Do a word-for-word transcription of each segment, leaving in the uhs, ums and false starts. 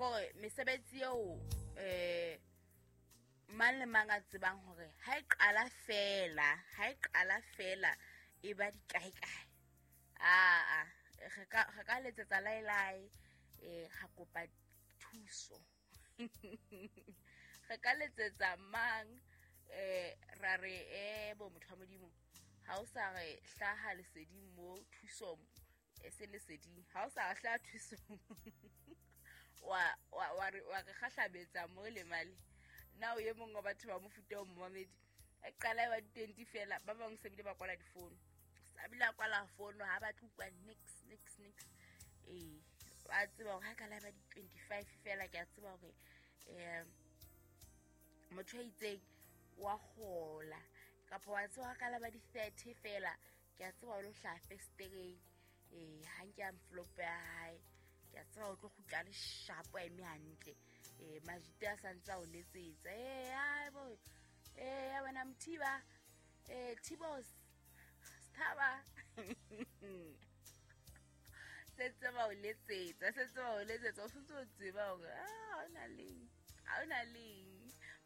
Kore mesebetsi eo eh mang le mang a tsebang hore ha e qala fela, ha e qala fela e ba dikae kae. Ah ah, re ka re ka letsetsa laelae eh ga kopa thuso. Re ka letsetsa mang eh ra re eh bo motho wa Modimo ha o sa re hlaha leseding mo thusong e se leseding ha o sa hlaha thusong wa wa wa re wa re kgahlabetsa mo le male na o ye mongwe wa batho ba mofuta o momamedi e qala ba twenty fela ba bang se bile ba kwala difono sa bile a kwala fono ha ba tlukwa nix nix nix eh ba tseba hore ha qala ba di twenty-five fela ke a tseba hore eh motho a itseng wa hola kapa wa tseba ha qala ba di thirty fela ke a tseba o lo hlaha festereng eh ha nke a mflope ya hae ke a tseba o tlo kgutla le shapo a eme hantle eh majite a santsa o letsetsa eh ai bo eh ya wena Mthiba eh Thibos Sthaba setse ba o letsetsa setse ba o letsetsa o sentse o tseba hore ah ona leng ha ona leng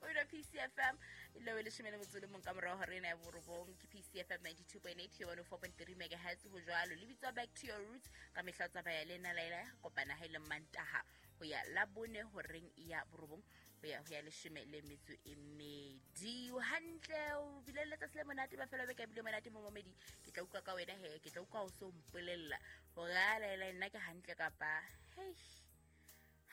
o ira P C F M ile le leshome le motso le mong ka morao hore ena ya borobong ke P C F M ninety-two point eight one oh four point three megahertz ho jwalo le bitswa Back to Your Roots ka mehla o tsamaya le nna Laila kopana ha ile Mantaha ho ya la bone horeng ya borobong ho ya ho ya leshome le metso e mmedi hantle o bile letsatsi le monate ba fela beke bile monate mo momedi ke tla utlwa ka wena he ke tla utlwa o so mpolella hore a Laila nna ke hantle kapa hei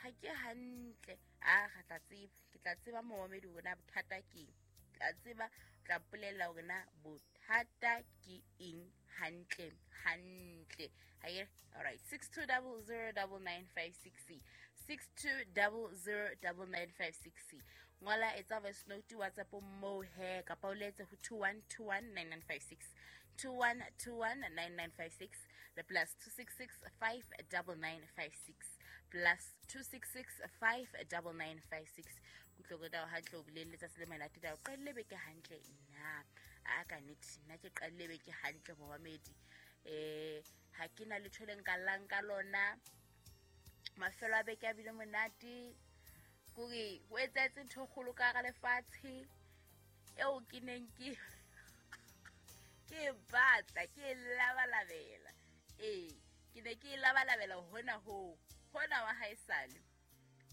ha ke hantle a ga tla tseba ke tla tseba momedi hore na bothata ke eng tla tseba tla mpolella hore na bothata ke eng hantle hantle ha all right six two zero zero nine nine five six six two zero zero nine nine five six ngola etsa voice note WhatsApp mo he kapa o letse ho two one two one nine nine five six two one two one nine nine five six le plus two six six five nine nine five six plus two six six five nine nine five six kutloko da hantle o bile letsatsi le monate da o qadile beke hantle nna a ka nnete nna ke qadile beke hantle momamedi eh ha ke na letho le nka llang ka lona mafelo a beke a bile monate kore ho etsahetse ntho e kgolo ka hara lefatshe eo ke neng ke ke batla ke labalabela ee ke ne ke labalabela hona ho hona wa haesale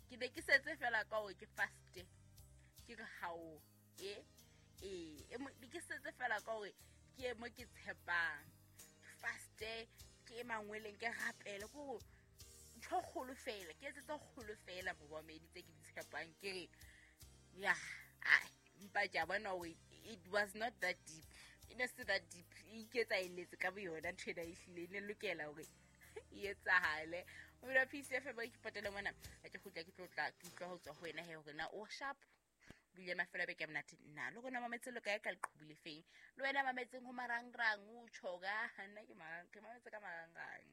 ke ne ke setse fela ka hore ke faste ke re hao e ee ke setse fela ka hore ke e mo ke tshepang ke faste ke e mangweleng ke rapele ke hore ntho kgolo fela ke etsetse kgolo fela momamedi tse ke di tshepang ke re ya ai mpa ke a bona hore it was not that deep e ne se that deep e iketsa eletse ka boyona ntho ena e hlile e ne lokela hore e etsahale o bile P C F M ke patela mona a ke kgutla ke tlotla ke utlwa ho tswa ho wena he hore na o sharp bile mafelo a beke a monate nna le rona mametse lo kae ka leqhubu le feng le wena mametseng ho marangrang o tjho ka nna ke marang ke mametse ka marangrang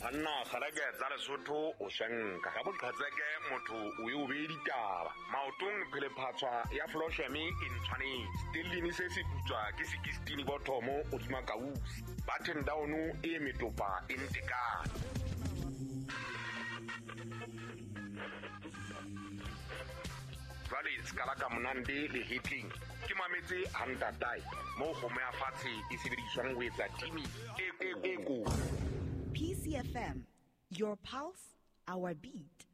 Banna kgareke tsa Lesotho o shanka ka boqhatseke motho o e o be ditaba maotong phelephatswa ya Flosheme e ntshwanetse stellini se se putswa ke sixteen bothomo o dima kausi button down e metopa e ntekane jwale skala ka monande le hitling ke mametse hantatae mo kgomo ya fatshe e sebediswang ho etsa timi e e ko P C F M, your pulse, our beat.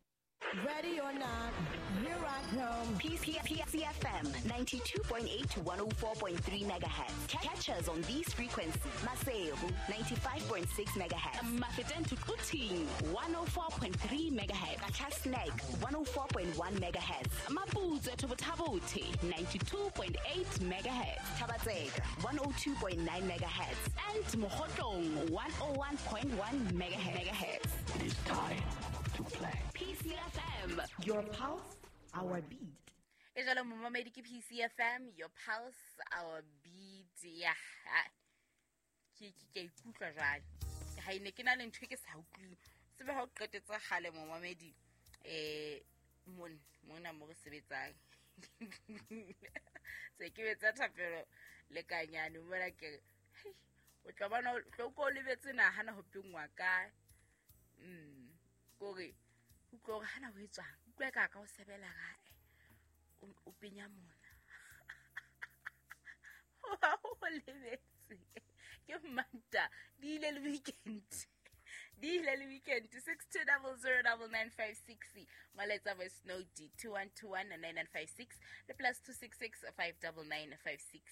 Ready or not, here I come. P C F M ninety-two point eight to one oh four point three megahertz. Catch us on these frequencies. Maseru ninety-five point six megahertz. Mafeteng to Quthing one oh four point three megahertz. Qacha's Nek one oh four point one megahertz. Maputswe to Botha-Bothe ninety-two point eight megahertz. Thaba-Tseka one oh two point nine megahertz. And Mokhotlong one oh one point one megahertz. It is time to play. P C F M, your pulse, our beat. E jalo momamedi ke P C F M, your pulse, our beat. Ya, ke ke ke ikutlwa jwale. Ha ine ke na le ntho e ke sa utlwing. Sebe ha o qetetse kgale momamedi eh mon mona mo re sebetsang. Se ke betsa thapelo le kanyane mona ke o tla bona o tlo ko lebetse nahana ho pengwa ka mm kore Utlwa hore hana ho etswang. Utlwa ka ka o sebela gae. O penya mona. O lebetse. Ke Manta di ile le weekend. Di ile le weekend six two zero zero nine nine five six molaetsa voice note two one two one nine nine five six le plus two six six five nine nine five six.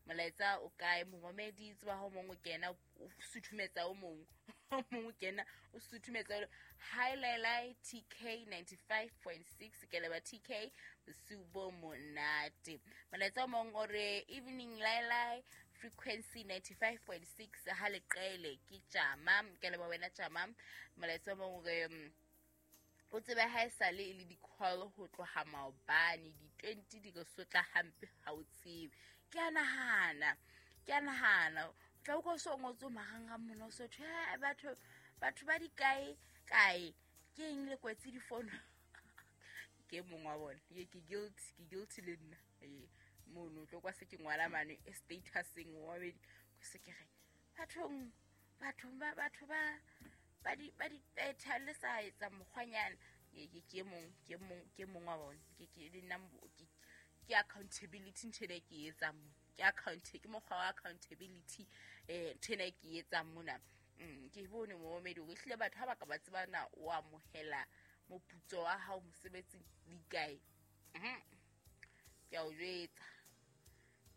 Molaetsa o kae momamedi tswa ho mong o kena o suthumetsa o mong o mong o kena o suthumetsa hi Lailai T K ninety-five point six ke leba T K bosiu monate. Molaetsa o mong o re evening Lailai frequency ninety-five point six ha leqele ke tjama ke leba wena tjama. Molaetsa o mong o re o tsebe ha e sale e le di-call ho tloha maobane di-twenty di re sotla hampe ha o tsebe. Ke a nahana ke a nahana o tla utlwa o so ngotswe marangrang mona o so thwe batho batho ba di kae kae ke eng le kwetse difono. Ke mong wa bona ke ke guilty ke guilty le nna ee mono tlo kwa se ke ngwala mane e statuseng wa babedi ko se ke re bathong bathong ba batho ba ba di ba di betha le sa etsa mokgwanyana. Ke ke mong ke mong ke mong wa bona ke ke le nna ke accountability ntho ena ke etsang mo ke account ke mokgwa wa accountability eh ntho ena ke etsang mona. Ke bone momamedi o hlile batho ha ba ka ba tseba na o amohela moputso wa hao mosebetsing di kae. Ke a o jwetsa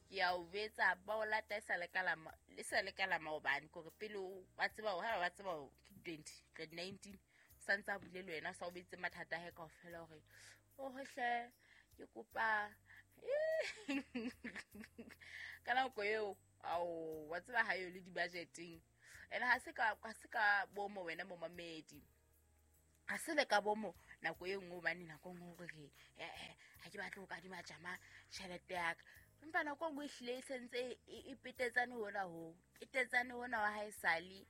ke a o jwetsa ba o lata e sa le ka la le sa le ka la maobane kore pele ba tseba hore ha ba tseba ke twenty twenty nineteen sa ntse a bule le wena sa o betse mathata a hae kaofela hore o hohle ke kopa ka nako eo ao wa tseba ha yo le di-budgeteng ene ha se ka ha se ka bomo wena momamedi ha se le ka bomo nako e nngwe hobane nako e nngwe hore eh ha ke batle ho kadima tjama tjhelete ya ka empa nako e nngwe ehlile e sentse e petetsane hona ho petetsane hona wa ha e sale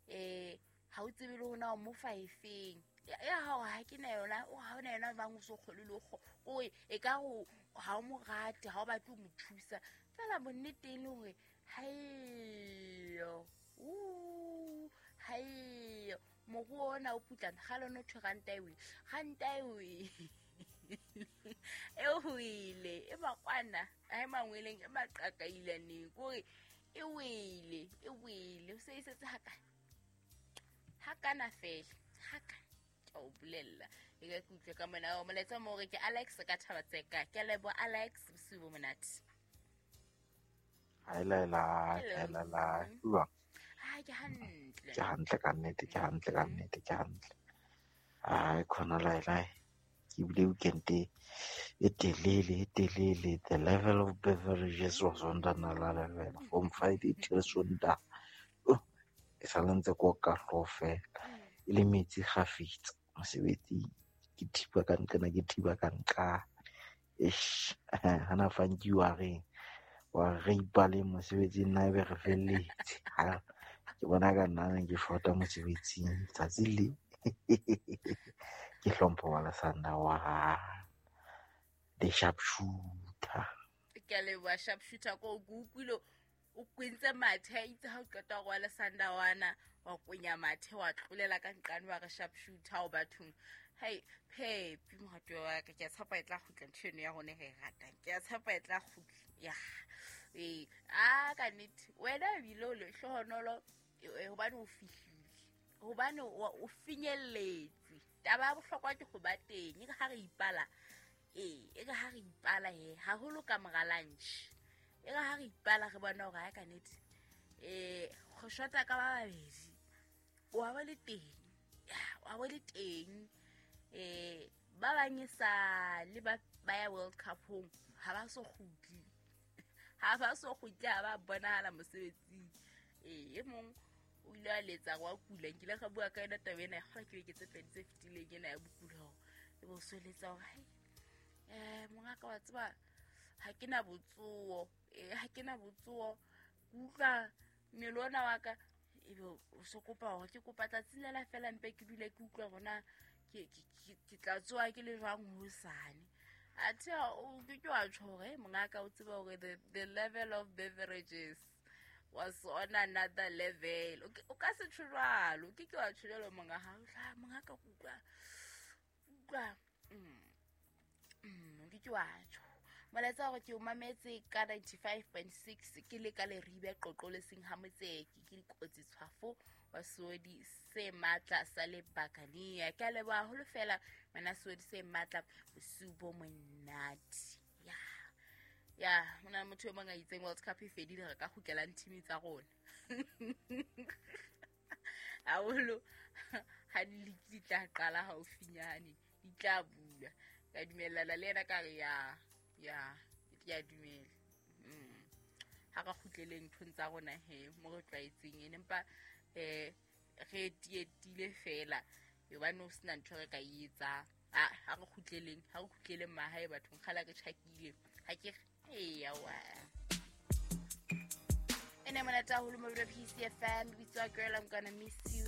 eh ha o tsebe le hona o mo fa efeng ya hao ha ke na yona o ha ona yona bang o so kgole le o e ka go ha o mo rate ha o batle ho mo thusa fela bonnete e le hore haeyo u haeyo moruo ona o putlana ga lona thwe ranta e wele ranta e wele e wele e makwana ha e mangweleng e maqakailaneng kore e wele e wele o se e setse hakana hakana fela hakana ke o bolella e ka ke utlwe ka mona o molaetsa mo hore ke Alex ka Thabatseka ke lebo Alex bosiu bo monate. Hi Laila, hi Laila. Jwang? Ha ke hantle. Ke hantle ka nnete, ke hantle ka nnete, ke hantle. Ai khona Laila. Ke bile weekend e telele, e telele. The level of beverages was on another level from Friday till Sunday. E sa le ntse ko ka hlooho fela. E le metsi kgafetsa mosebetsing. Ke thiba ka nqena, ke thiba ka nqa. Eish, hana fanki wa reng wa re ipaleng mosebetsing nna ebe re felletse. Ha ke bona ka nna ke shota mosebetsing tsatsi le ke hlompho wa Lesanda wa the sharpshooter. Ke a leboha sharpshooter ko ke utlwile o kwentse mathe a itse ha o qeta ho wa Lesanda wana wa kwenya mathe wa tlolela ka nqane wa re sharpshooter o bathong. Hai Phepi moratuwa wa ka ke a tshepa e tla kgutla ntho eno ya rona re e ratang ke a tshepa e tla kgutla ya ee a ka nnete wena ebile o lehlohonolo hobane o fihlile hobane o finyelletse. Taba ya bohlokwa ke ho ba teng e re ha re ipala ee e re ha re ipala he haholo ka mora lunch e re ha re ipala re bona hore ha ka nnete eh go shota ka ba babedi wa ba le teng wa ba le teng eh ba bang e sa le ba ba ya World Cup hong ha ba so kgutli ha ba so kgutli ha ba bonahala mosebetsing. Eh e mong o ile a letsa wa kula nkile ga bua ka yona taba ena ga ke beke tse pedi tse fetileng ena ya bokula hore e bo so letsa hore hai eh mongaka wa tseba ha ke na botsoho eh ha ke na botsoho ke utlwa mmele ona wa ka ebe o so kopa hore ke kopa tsatsi lela fela mpe ke dule ke utlwa hore na ke ke ke tla tsoha ke le jwang hosane. Athe o ke ke wa tjho hore mongaka o tseba hore the the level of beverages was on another level. O ka se tjho jwalo, ke ke wa tjho jwalo monga ha o tla mongaka ke utlwa ke wa tjho. Molaetsa hore ke o mametse ka ninety-five point six ke le ka Leribe Qoqo le seng ha Motseki ke dikotsi tshwafo wa Sodi se matla sa le Bakania. Ke a leboha haholo fela wena Sodi se matla bosiu bo monate. Ya. Ya, hona le motho e mong a itseng World Cup e fedile re ka kgutlelang team tsa rona. Haholo ha di di tla qala haufinyane, di tla bula. Ka dumellana le yena ka re ya ya ke a dumela. Mm. Ha re kgutleleng nthong tsa rona he mo re tlwaetseng ene empa eh re tietile fela hobane ho sena ntho re ka e etsang. Ah, ha re kgutleleng, ha re kgutleleng mahae bathong kgala re tjhakile. Ha ke re wa. Ene monate haholo mo P C F M, bitswa Girl I'm Gonna Miss You.